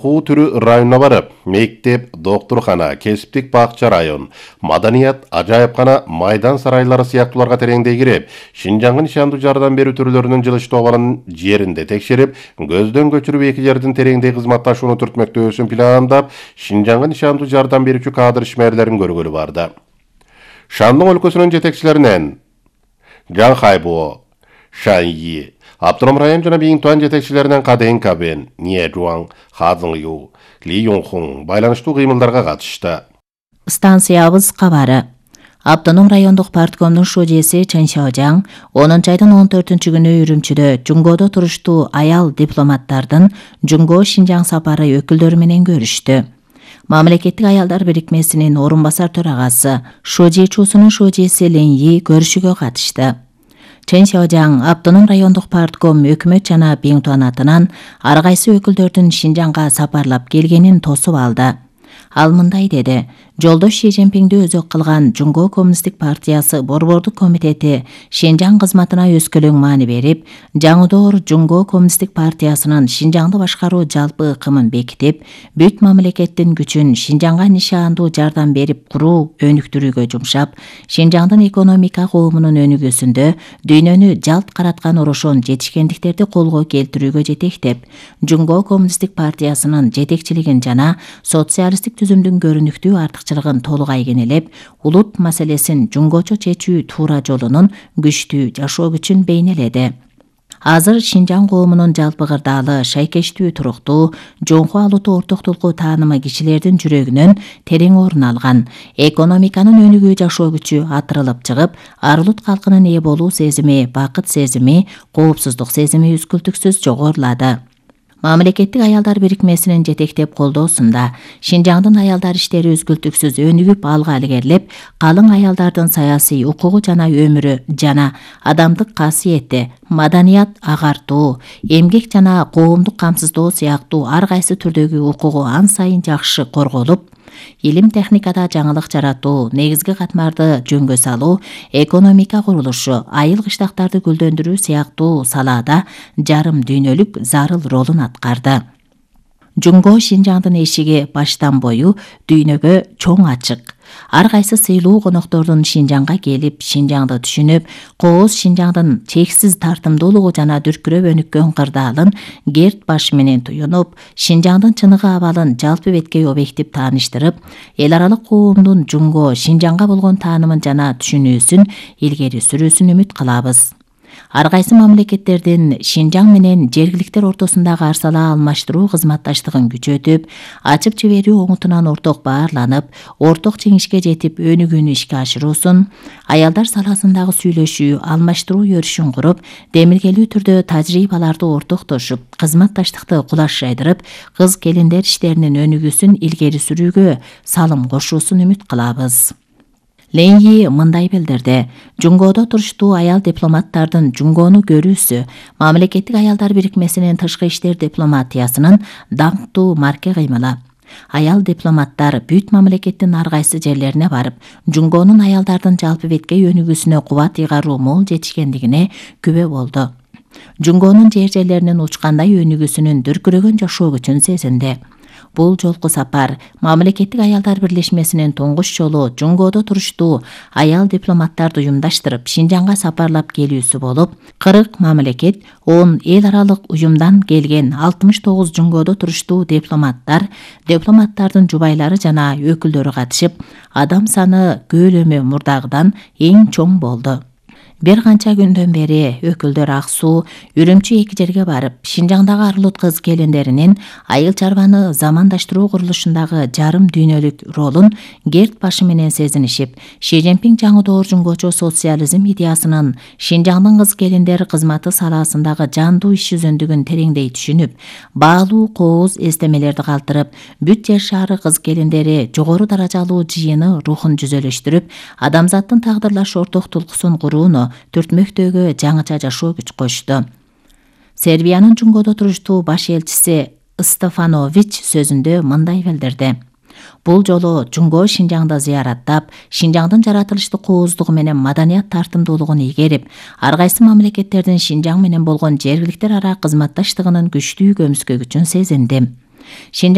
Куу түрү районуна барып, мектеп, доктурхана, кесиптик бакча район, маданият, ажайыпкана, майдан сарайлары сыяктууларга тереңдей кирип, Шинжаңга нишандуу жардам берүү түрлөрүнүн жылыштуу абалын жеринде текшерип, көздөн көчүрүп эки жердин тереңдей кызматташууну түртмөктөөсүн пландап, Шинжаңга нишандуу жардам берүүчү кадр ишмерлерин көргөлү барды. Шандың өлкөсүнүн жетекчилеринен Жан Хайбо, Шаньи, Автоном район жана Биңтуан жетекчилеринен Каден Кабен, Ния Жуан, Ха Цзыңю, Ли Юнхун байланыштуу кыймылдарга катышты. Станциябыз кабары. Автоном райондук парткомдун шожеси Чен Шаожаң 10 айдын 14-күнү Үрүмчүдө Жунгодо туруштуу аял дипломаттардын Жунго Шинжаң сапары өкүлдөрү менен көрүштү. Мамлекеттик аялдар бирикмесинин орун басар төрагасы Шожи Чусунун шожеси Леньи көрүшүүгө катышты. Чен Шаожаң Автоном райондук партком өкмөт жана Биңтуан атынан ар кайсы өкүлдөрдүн Шинжаңга сапарлап келгенин тосуп алды. Ал мындай деди: Жолдош Ши Цзиньпинди өзөк кылган Жунго Коммунисттик партиясы борбордук комитети Шинжаң кызматына өскөлөң маани берип, жаңыдоор Жунго Коммунисттик партиясынын Шинжаңды башкаруу жалпы ыкымын бекитип, бүт мамлекеттин күчүн Шинжаңга нишандуу жардам берип куруу өнүктүрүүгө жумшап, Шинжаңдын экономика коомунун өнүгүүсүндө дүйнөнү жалт караткан орошон жетишкендиктерди колго келтирүүгө жетектеп, Жунго Коммунисттик партиясынын жетекчилигин жана социалисттик түзүмдүн көрүнүктүү артыкчылыгын толук айгинелеп, улут маселесин жунгочо чечүү туура жолунун күчтүү жашоо күчүн бейнеледи. Азыр Шинжаң коомунун жалпы кырдаалы шайкештүү туруктуу, жоңку алуту ортоктулуку таанымы кишилердин жүрөгүнөн терең орун алган, экономиканын өнүгүү жашоо күчү атырылып чыгып, ар улут калкынын ээ болуу сезими, бакыт сезими, коопсуздук сезими үзгүлтүксүз жогорулады. Мамлекеттик аялдар бирикмесинин жетектеп колдоосунда Шинжаңдын аялдар иштери үзгүлтүксүз өнүгүп алга илгерилеп, калың аялдардын саясий укугу жана өмүрү жана адамдык касиети, маданият агартуу, эмгек жана коомдук камсыздоо сыяктуу ар кайсы түрдөгү укугу ан сайын жакшы корголуп, илим техникада жаңылык жаратуу, негизги катмарды жөнгө салуу, экономика курулушу, айыл кыштактарды гүлдөндүрүү сыяктуу салаада жарым дүйнөлүк зарыл ролун аткарды. Жунго Шинжаңдын эшиги баштан бою дүйнөгө чоң ачык. Ар кайсы сыйлуу коноктордун Шинжаңга келип, Шинжаңды түшүнүп, кооз Шинжаңдын чексиз тартымдуулугу жана дүркүрөп өнүккөн кырдаалын керт башы менен туюнуп, Шинжаңдын чыныгы абалын жалпы бетке объектив тааныштырып, эл аралык коомдун Жунго Шинжаңга болгон таанымын жана түшүнүүсүн илгери сүрүүсүн үмүт кылабыз. Ар кайсы мамлекеттердин Шинжаң менен жергиликтер ортосундагы арсалаа алмаштыруу кызматташтыгын күчөтүп, ачып жиберүү оңутунан орток баарланып, орток жеңишке жетип өнүгүүнү ишке ашыруусун, аялдар саласындагы сүйлөшүү, алмаштыруу өрүшүн куруп, демилгелүү түрдө тажрыйбаларды ортоктошуп, кызматташтыкты кулаш жайдырып, кыз келиндер иштеринин өнүгүүсүн илгери сүрүүгө салым кошуусун үмүт кылабыз. Леньи мындай билдирди: Жунгодо туруштуу аял дипломаттардын Жунгону көрүүсү мамлекеттик аялдар бирикмесинин тышкы иштер дипломатиясынын даңктуу марке кыймылы. Аял дипломаттар бүт мамлекеттин ар кайсы жерлерине барып, Жунгонун аялдардын жалпы бетке өнүгүүсүнө кубат ыйгаруу мол жетишкендигине күбө болду. Жунгонун жер-жерлеринин учкандай өнүгүүсүнүн дүркүрөгөн жашоо күчүн сезинди. Бул жолку сапар мамлекеттик аялдар бирлешмесинин туңгуч жолу Жунгодо туруштуу аял дипломаттарды уюмдаштырып Шинжаңга сапарлап келүүсү болуп, 40 мамлекет, 10 эл аралык уюмдан келген 69 Жунгодо туруштуу дипломаттардын жубайлары жана өкүлдөрү катышып, адам саны көлөмү мурдагыдан эң чоң болду. Бир канча күндөн бери өкүлдөр Ак Суу, Үрүмчү эки жерге барып, Шинжаңдагы ар улут кыз келиндеринин айыл чарбаны замандаштыруу курулушундагы жарым дүйнөлүк ролун керт башы менен сезинишип, Ши Цзиньпин жаңыдоор жунгочо социализм идеясынын Шинжаңдын кыз келиндер кызматы саласындагы жандуу иш жүзүндүгүн тереңдей түшүнүп, баалуу кооз эстемелерди калтырып, бүт жер шаары кыз келиндери жогору даражалуу жыйыны рухун жүзөлөштүрүп, адамзаттын тагдырлаш ортоктулукусун курууну түртмөктөгө жаңыча жашоо күч кошту. Сербиянын Жунгодо туруштуу баш элчиси Стефанович сөзүндө мындай билдирди: Бул жолу Жунго Шинжаңды зыяраттап, Шинжаңдын жаратылыштык кооздугу менен маданият тартымдуулугун ийгерип, ар кайсы мамлекеттердин Шинжаң менен болгон жергиликтер ара кызматташтыгынын күчтүү көмүскө күчүн сезиндим.